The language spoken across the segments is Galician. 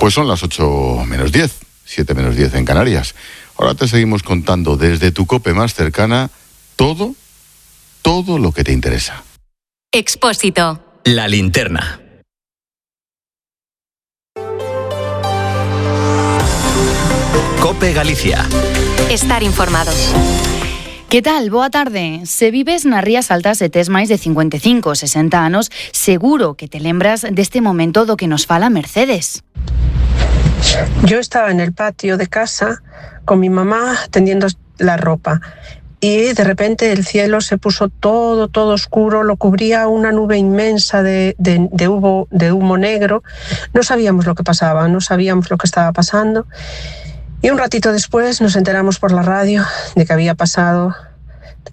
Pues son las 8 menos 10, 7 menos 10 en Canarias. Ahora te seguimos contando desde tu COPE más cercana todo lo que te interesa. Expósito. La linterna. COPE Galicia. Estar informado. Que tal? Boa tarde. Se vives nas Rías Altas e tes máis de 55 ou 60 anos, seguro que te lembras deste momento do que nos fala Mercedes. Yo estaba en el patio de casa con mi mamá tendiendo la ropa y de repente el cielo se puso todo oscuro, lo cubría una nube inmensa de humo negro. No sabíamos lo que pasaba, no sabíamos lo que estaba pasando. Y un ratito después nos enteramos por la radio de que había pasado,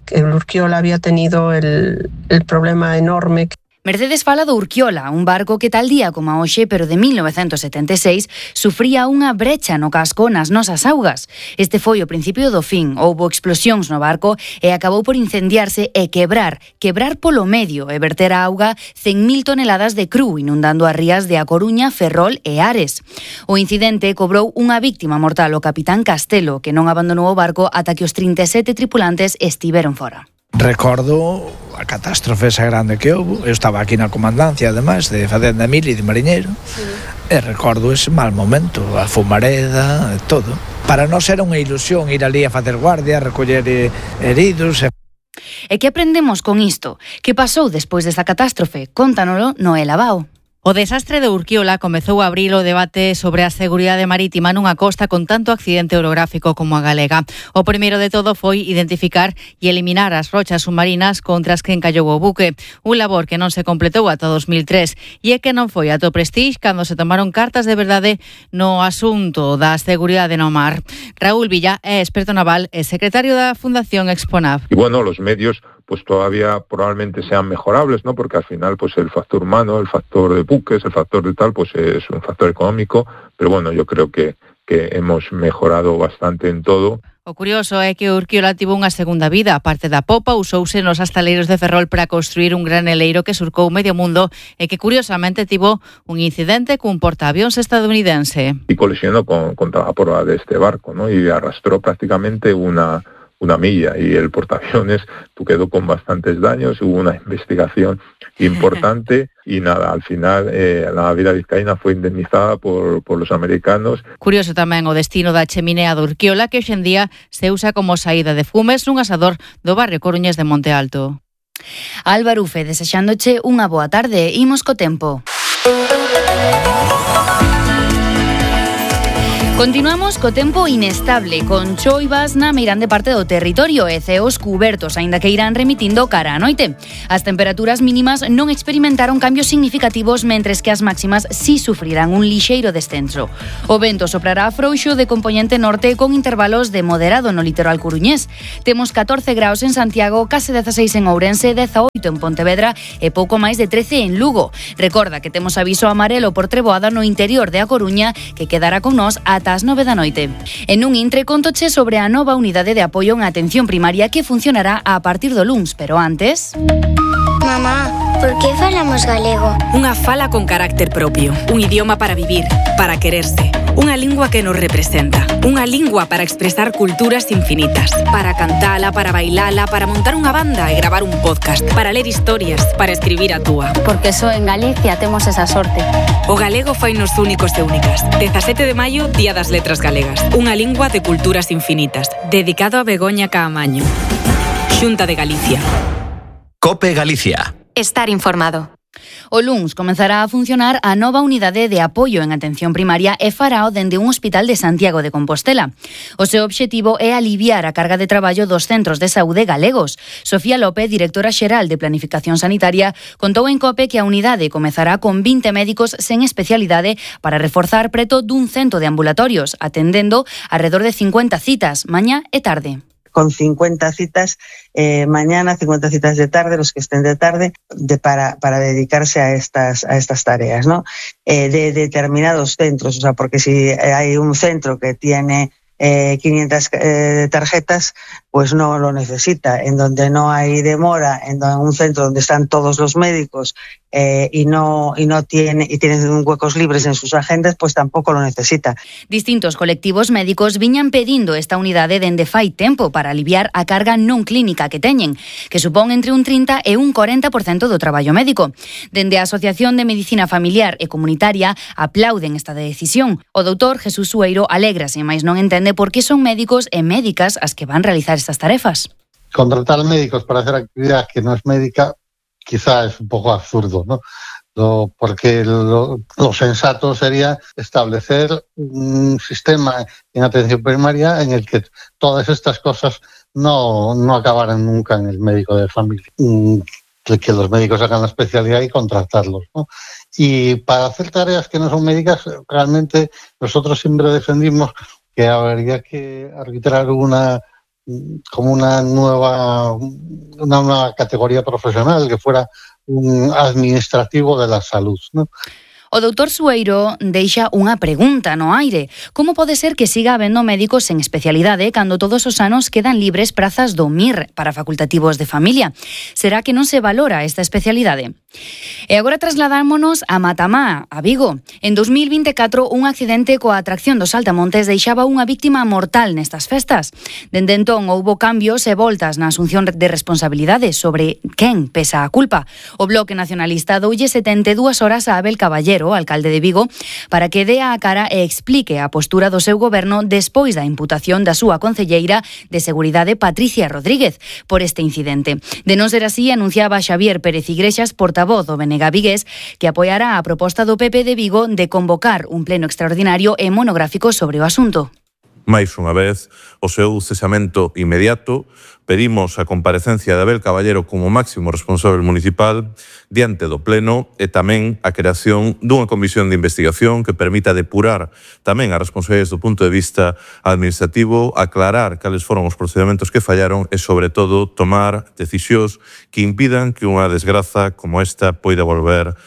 que el Urquiola había tenido el problema enorme. Mercedes fala do Urquiola, un barco que tal día como a hoxe, pero de 1976, sufría unha brecha no casco nas nosas augas. Este foi o principio do fin. Houbo explosións no barco e acabou por incendiarse e quebrar polo medio e verter a auga 100.000 toneladas de cru, inundando as rías de A Coruña, Ferrol e Ares. O incidente cobrou unha víctima mortal, o capitán Castelo, que non abandonou o barco ata que os 37 tripulantes estiveron fora. Recordo a catástrofe esa grande que houve. Eu estaba aquí na comandancia, ademais, de Fadenda Mil e de Mariñeiro, e recordo ese mal momento, a fumareda, todo. Para nós era unha ilusión ir ali a facer guardia, a recoller heridos. E que aprendemos con isto? Que pasou despois desta catástrofe? Cóntanolo Noela Bao. O desastre de Urquiola comezou a abrir o debate sobre a seguridade marítima nunha costa con tanto accidente orográfico como a galega. O primeiro de todo foi identificar e eliminar as rochas submarinas contra as que encallou o buque, un labor que non se completou ata 2003 e é que non foi ata o Prestige cando se tomaron cartas de verdade no asunto da seguridade no mar. Raúl Villa é experto naval e secretario da Fundación Exponav. Y bueno, los medios pues todavía probablemente sean mejorables, ¿no? Porque al final pues el factor humano, el factor de buques, el factor de tal, pues es un factor económico, pero bueno, yo creo que hemos mejorado bastante en todo. O curioso é que o Urquiola tivo unha segunda vida. A parte da popa, usouse nos astaleiros de Ferrol para construir un graneleiro que surcou medio mundo e que curiosamente tivo un incidente cun portaavións estadounidense. Y colisionó contra la proa de este barco, ¿no? Y arrastró prácticamente una milla y el portaaviones quedó con bastantes daños, hubo una investigación importante y nada, al final la naviera vizcaína fue indemnizada por los americanos. Curioso tamén o destino da cheminea do Urquiola, que hoxe en día se usa como saída de fumes nun asador do barrio coruñés de Monte Alto. Álvaro Ufe, desexándoche unha boa tarde. Imos co tempo. Continuamos co tempo inestable, con choivas na meirande parte do territorio e ceos cubertos, aínda que irán remitindo cara a noite. As temperaturas mínimas non experimentaron cambios significativos, mentres que as máximas si sufrirán un lixeiro descenso. O vento soprará frouxo de compoñente norte con intervalos de moderado no litoral coruñés. Temos 14 graus en Santiago, case 16 en Ourense, 18 en Pontevedra e pouco máis de 13 en Lugo. Recorda que temos aviso amarelo por treboada no interior de A Coruña, que quedará con nós ata as 9 da noite. En un intre contoche sobre a nova unidade de apoio en atención primaria que funcionará a partir do luns, pero antes... Mamá, por que falamos galego? Unha fala con carácter propio, un idioma para vivir, para quererse, unha lingua que nos representa, unha lingua para expresar culturas infinitas, para cantala, para bailala, para montar unha banda e gravar un podcast, para ler historias, para escribir a túa. Porque só en Galicia temos esa sorte. O galego fainos únicos e únicas. 17 de maio, Día das Letras Galegas. Unha lingua de culturas infinitas. Dedicado a Begoña Caamaño. Xunta de Galicia. COPE Galicia. Estar informado. O luns comenzará a funcionar a nova unidade de apoio en atención primaria e farao dende un hospital de Santiago de Compostela. O seu obxectivo é aliviar a carga de traballo dos centros de saúde galegos. Sofía López, directora xeral de Planificación Sanitaria, contou en COPE que a unidade comezará con 20 médicos sen especialidade para reforzar preto dun cento de ambulatorios, atendendo alrededor de 50 citas, mañá e tarde. Con 50 citas mañana, 50 citas de tarde, los que estén de tarde, para dedicarse a estas tareas, ¿no? De determinados centros, o sea, porque si hay un centro que tiene 500 tarjetas, pues no lo necesita. En donde no hay demora, en un centro donde están todos los médicos y tienen huecos libres en sus agendas, pues tampoco lo necesita. Distintos colectivos médicos viñan pedindo esta unidade dende fai tempo para aliviar a carga non clínica que teñen, que supón entre un 30 e un 40% do traballo médico. Dende a Asociación de Medicina Familiar e Comunitaria aplauden esta decisión. O doutor Jesús Sueiro alégrase, mais non entende por que son médicos e médicas as que van realizar estas tarefas. Contratar médicos para hacer actividad que no es médica quizá es un poco absurdo, ¿no? Porque lo sensato sería establecer un sistema en atención primaria en el que todas estas cosas no acabaran nunca en el médico de familia. Que los médicos hagan la especialidad y contratarlos, ¿no? Y para hacer tareas que no son médicas, realmente nosotros siempre defendimos que habría que arbitrar una nueva categoría profesional que fuera un administrativo de la salud, ¿no? O doutor Sueiro deixa unha pregunta no aire. Como pode ser que siga habendo médicos en especialidade cando todos os anos quedan libres prazas do MIR para facultativos de familia? Será que non se valora esta especialidade? E agora trasladámonos a Matamá, a Vigo. En 2024, un accidente coa atracción dos Saltamontes deixaba unha víctima mortal nestas festas. Dende entón, houbo cambios e voltas na asunción de responsabilidades sobre quen pesa a culpa. O Bloque Nacionalista doulle 72 horas a Abel Caballero, alcalde de Vigo, para que dea a cara e explique a postura do seu goberno despois da imputación da súa concelleira de Seguridade, Patricia Rodríguez, por este incidente. De non ser así, anunciaba Xavier Pérez Igrexas, portavoz do BNG vigués, que apoiará a proposta do PP de Vigo de convocar un pleno extraordinario e monográfico sobre o asunto. Máis unha vez, o seu cesamento inmediato. Pedimos a comparecencia de Abel Caballero como máximo responsable municipal diante do Pleno e tamén a creación dunha comisión de investigación que permita depurar tamén as responsabilidades do punto de vista administrativo, aclarar cales foron os procedementos que fallaron e, sobre todo, tomar decisións que impidan que unha desgraza como esta poida volver.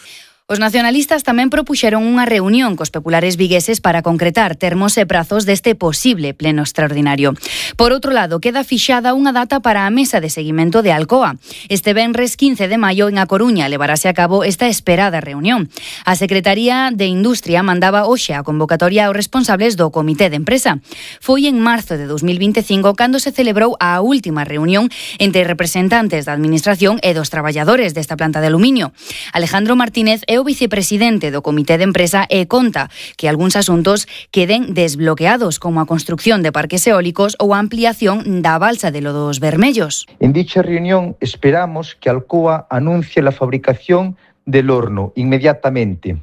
Os nacionalistas tamén propuxeron unha reunión cos populares vigueses para concretar termos e prazos deste posible pleno extraordinario. Por outro lado, queda fixada unha data para a mesa de seguimento de Alcoa. Este venres 15 de maio en A Coruña levarase a cabo esta esperada reunión. A Secretaría de Industria mandaba hoxe a convocatoria aos responsables do Comité de Empresa. Foi en marzo de 2025 cando se celebrou a última reunión entre representantes da Administración e dos traballadores desta planta de aluminio. Alejandro Martínez é o vicepresidente do Comité de Empresa e conta que algúns asuntos queden desbloqueados, como a construcción de parques eólicos ou a ampliación da balsa de Lodos Vermellos. En dicha reunión esperamos que Alcoa anuncie la fabricación del horno inmediatamente,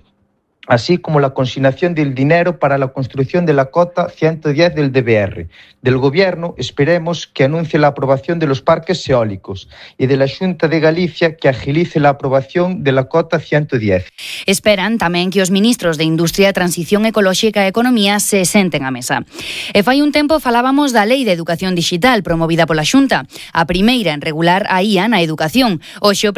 así como la consignación del dinero para la construcción de la cota 110 del DBR. Del Gobierno esperemos que anuncie la aprobación de los parques eólicos y de la Xunta de Galicia que agilice la aprobación de la cota 110. Esperan tamén que os ministros de Industria, Transición Ecolóxica e Economía se senten á mesa. E fai un tempo falábamos da Lei de Educación Digital promovida pola Xunta, a primeira en regular a IA na educación. Hoxe o